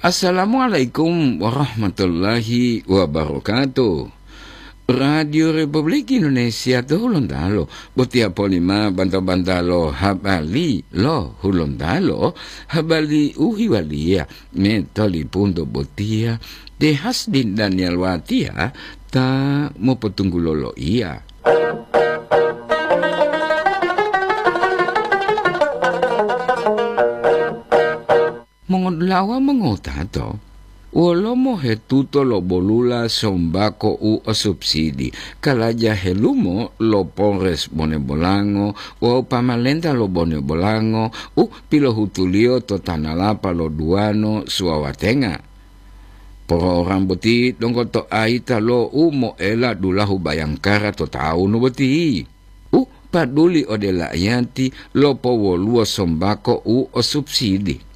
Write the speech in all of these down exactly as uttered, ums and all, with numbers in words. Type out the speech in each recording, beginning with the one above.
Assalamualaikum warahmatullahi wabarakatuh. Radio Republik Indonesia to Hulontalo, botiya polima banta-bantalo habari lo Hulontalo, habari u hiwaliya me tolipunto botiya, te Hasdin Daniel Watiya ta mopotunggulo loiya. Mongodulawa mongotato, wolo mohetuto lo bolula sombako u o subsidi, kalaja helumo lo Polres Bonebolango wawu pamalenta lo Bonebolango u pilohutuliyo to tanalapa lo Duwano Suwawatenga. Program boti donggo to ayita lo u moela dulahu Bayangkara to tawunu boti. U paduli ode la'iyati lopowoluwo sombako u o subsidi.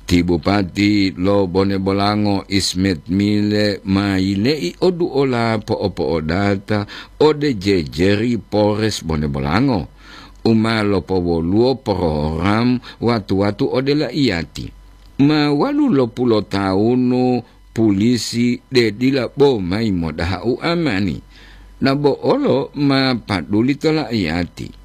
Ti Bupati lo Bonebolango Ismet Mile ma yile'i oduola po'opo'odata ode jejeri Polres Bonebolango, u ma lopowoluwo program watu-watu ode la'iyati. Ma walu lopulotawunu pulisi de dila bo mayi modaha uamani, dabo olo ma paduli to la'iyati.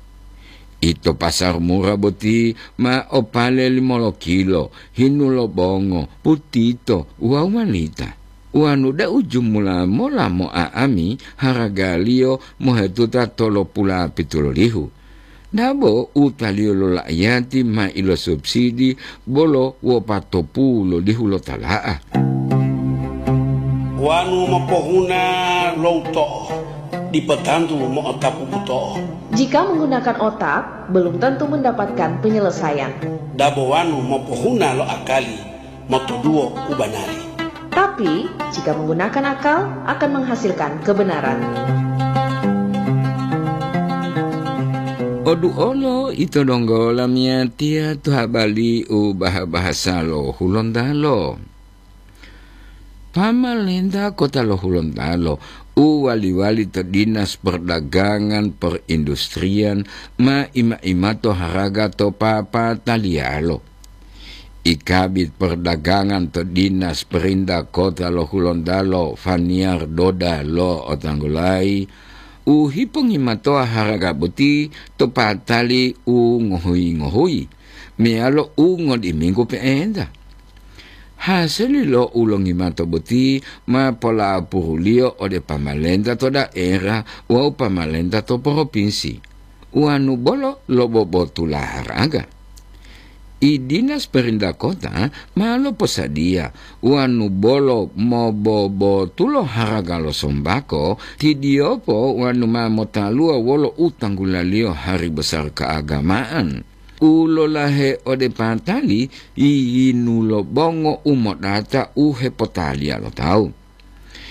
Ito pasar mura boti ma opale limolokilo, hinu lo bongo, putito wawu malita. Wanu da'u jumula mola mo'a'ami haragaliyo mohetuta tolopula pitulolihu. Dabo utaliyo lo la'iyati ma ilosubsidi bolo wopatopu lolihu lo tala'a. Wanu mopohuna lo uto'o, dipo tantu mo'otapu buto'o. Jika menggunakan otak, belum tentu mendapatkan penyelesaian. Dabo wanu mopohuna lo akali, motoduwo u banari. Tapi, jika menggunakan akal, akan menghasilkan kebenaran. Oduolo ito donggo lamiyatiya to habari u baha-bahasa lo Hulontalo. Pamalenta kota lo Hulontalo u wali-wali to Dinas Perdagangan Perindustrian ma ima-imato haraga to papataliyalo. I Kabid Perdagangan to Dinas Perinda Kota lo Hulontalo, Faniar Doda lo otanggulayi, u hipongimatoa haraga boti to patali u ngohuyi-ngohuyi, meyalo u ngodiminggu pe'enta. Hasili lo u longimato boti ma polapuruliyo ode pamalenta to daerah wawu pamalenta to propinsi. Wanu bolo lobobotula haraga. I Dinas Perintah Kota ma loposadiya wanu bolo mobobotulo haraga lo sombako, tidiyopo wanu ma motaluwa wolo u tanggulaliyo hari besar keagamaan u lolahe ode patali yiyinu lo bongo u modata u hepotaliya lo tawu.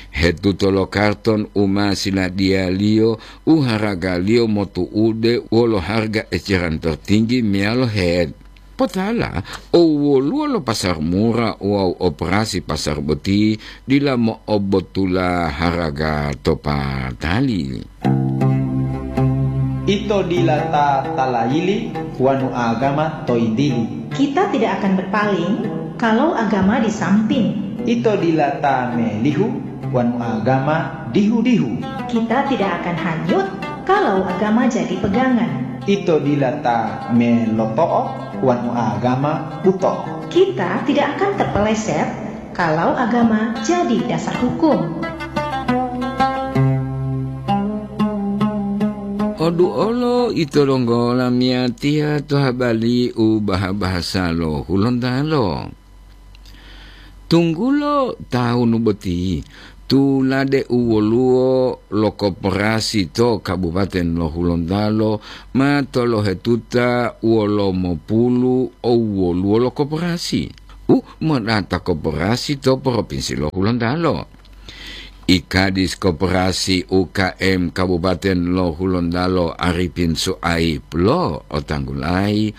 Hetuto lo karton u ma siladiyaliyo u haragaliyo motu'ude wolo harga eceran tertinggi meyalo het. Potala, o woluwo lo pasar mura wawu operasi pasar boti dila mo'obotula haraga to patali. Ito dila ta talayili wanu agama toyintili. Kita tidak akan berpaling kalau agama di samping. Ito dila ta melihu wanu agama dihu-dihu. Kita tidak akan hanyut kalau agama jadi pegangan. Ito dila ta meloto'o wanu agama buto'o. Kita tidak akan terpeleset kalau agama jadi dasar hukum. Oduolo ito donggo lamiyatiya to habari u baha-bahasa lo Hulontalo. Tunggulo tawunu boti, tulade u woluwo lo koperasi to Kabupaten lo Hulontalo ma tolohetuta wolomopulu o woluwo lo koperasi. U modata koperasi to Propinsi lo Hulontalo. I Kadis Koperasi U K M Kabupaten lo Hulontalo Arifin Suaib lo otanggulayi,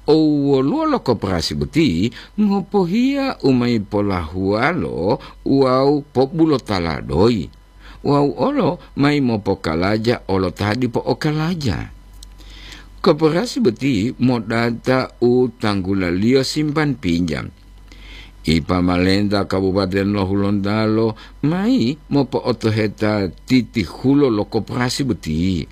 o woluwo lo koperasi boti ngopohiya u mayi polahuwalo wawu pobulotala doyi, wawu olo mayi mopokalaja olo ta dipo okalaja. Koperasi boti modata u tanggulaliyo simpan pinjam. Ipamalenta Kabupaten lo Hulontalo mayi mopo'otoheta titihulo lo koperasi boti,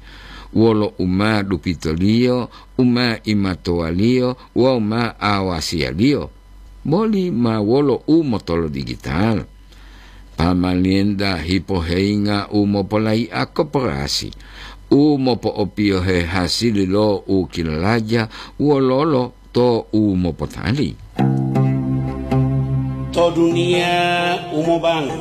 wolo u ma dupitoliyo, u ma imatowaliyo wawu ma awasiyaliyo, boli ma wolo u motolodigital. Pamalenta hipoheyinga u mopolayi'a koperasi, u mopo'opiyohe hasili lo u kilalaja wololo to u mopotali. To duniya u mobango,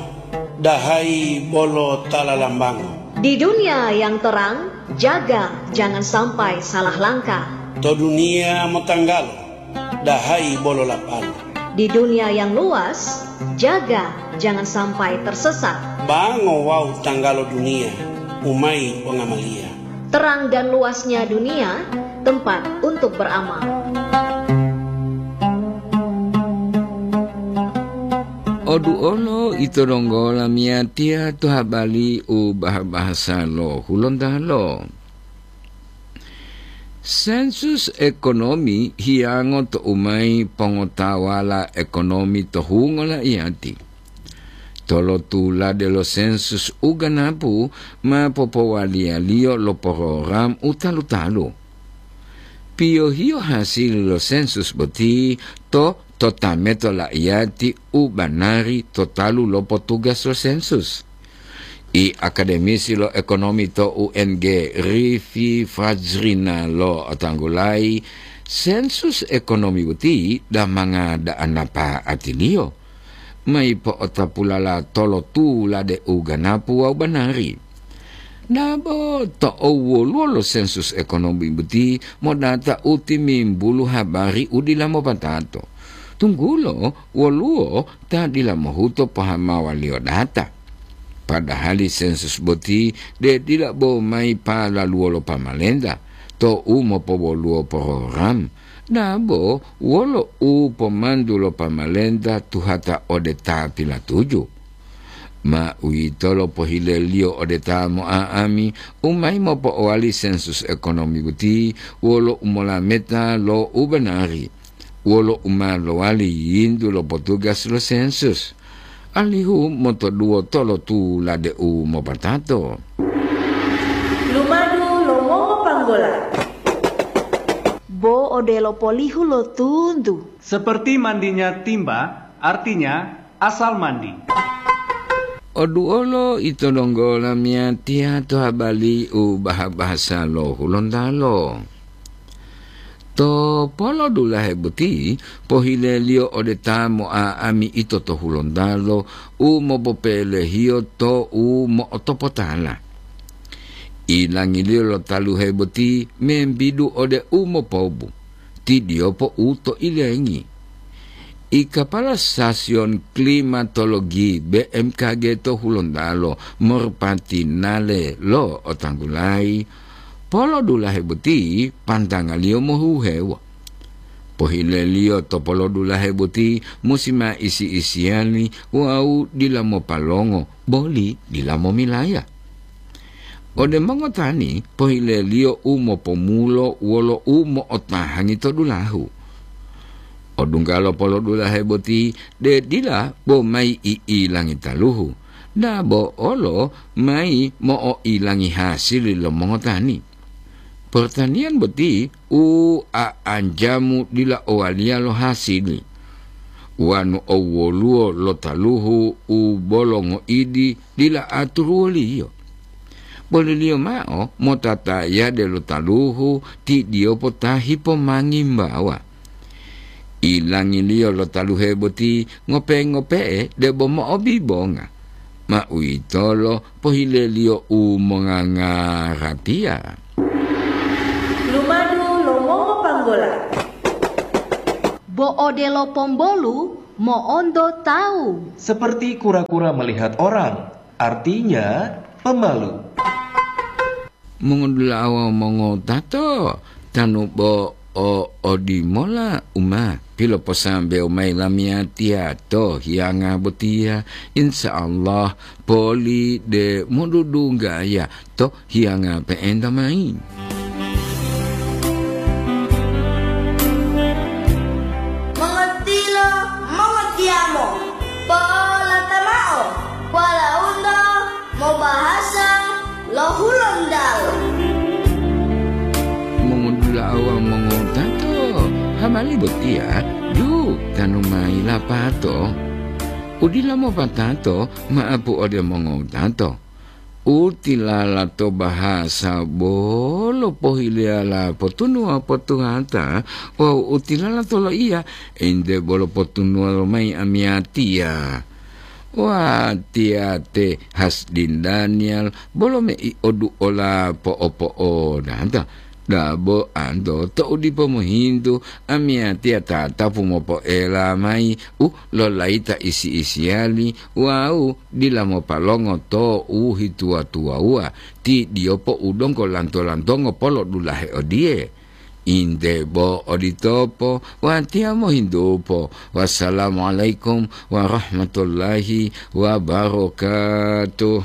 dahayi bolo ta lalambango. Di dunia yang terang, jaga jangan sampai salah langkah. To duniya motanggalo, dahayi bolo lapalo. Di dunia yang luas, jaga jangan sampai tersesat. Bango wawu tanggalo duniya, umayi pongamaliya. Terang dan luasnya dunia, tempat untuk beramal. Oduolo ito donggo lamiyatiya to habari u bah-bahasa lo Hulontalo. Sensus ekonomi hiyango to umayi pongotawala ekonomi to hungo la'iyati. Tolotulade lo sensus u ganapu ma popowaliyaliyo lo porogram u talu-talu. Piyohiyo hasili lo sensus boti to totameto la'iyati u banari to talu lo potugas lo sensus. I akademisi lo ekonomi to U N G, Rifi Fajrina, lo'otanggulayi sensus ekonomi boti damanga da'anapa atiliyo. Mayi po'otapulala tolotulade u ganapu wawu banari. Dabo to'u woluwo lo sensus ekonomi boti modata u timimbulu habari u dila mopatato, tunggulo woluwo ta dila mohuto pohamawaliyo data. Padahali sensus boti de dila bo mayi palaluwo lo pamalenta to u mopowoluwo program, dabo wolo u pomantu lo pamalenta tuhata ode ta pilatuju. Ma uwitolo pohileliyo ode ta mo'a'ami u mayi mopo'owali sensus ekonomi boti wolo umolameta lo u banari, wolo u ma lowali yintu lo potugas lo sensus, alihu motoduwo tolotulade u mopatato. Lumadu lo mongopanggola. Bo odelo polihu lo tuntu. Seperti mandinya timba, artinya asal mandi. Oduolo ito donggo lamiyatiya to habari u bah-bahasa lo Hulontalo. To polodulahe boti pohileliyo ode ta mo'a'ami ito to Hulontalo u mopopelehiyo to u mo'otopotala. Ilangiliyo lo taluhe boti membidu ode u mopobu, tidiyopo u to ilengi. I kapala Stasiyon Klimatologi B M K G to Hulontalo, Morpati Nale, lo'otanggulayi, polodulahe boti pantangaliyo mohuhewo. Pohileliyo to polodulahe boti musi ma isi-isiyani wawu dila mopalongo, boli dila momilaya. Ode mongotani pohileliyo u mopomulo wolo u mo'otahangi to dulahu. Odunggalo polodulahe boti de dila bo mayi i'ilangi taluhu, dabo olo mayi mo'o'ilangi hasili lo mongotani. Pertaniyan boti u a'anjamu dila owaliya lo hasili, wanu owwoluwo lo taluhu u bolo ngoidi dila aturuwoliyo. Boliliyo mao motatayade lo taluhu tidiyopo ta hipomangimbawa. Ilangiliyo lo taluhe boti ngope-ngope'e debo mo'obibonga, ma uwitolo pohileliyo u mongangaratiya. Lumadu lo mongopanggola. Bo odelo pombolu mo'onto tawu. Seperti kura-kura melihat orang, artinya pemalu. Mongodula'a wawu mongotato, tanu bo o odimola u ma piloposambewo mayi lamiyatiya to hiyanga botiya, insya Allah poli de modudunggaya to hiyanga pe'enta mayi. Mongotilo, mongotilo. Yamo, polata mao, walaundo mobahasa lo Hulondalo. Mongodula'a wawu mongotato, habari botiya dutanu mayi lapato. Udila mopatato ma'apu ode mongotato. Utilala to bahasa bolo pohileyala potunuwa potuhata wawu utilala to loiya ente bolo potunuwa lomayi amiyatiya. Watiya te Hasdin Daniel bolo mei oduola po'opo'odata. Dabo anto to'u dipo mohintu, amiyatiya tatapu mopoela mayi u lolayita isi-isiyali wawu dila mopalongo to u hituwa-tuwawuwa, ti diyopo u donggo lanto-lantongo polodulahe odiye. Inte bo oditopo, watiya mohintupo. Wassalamualaikum warahmatullahi wabarakatuh.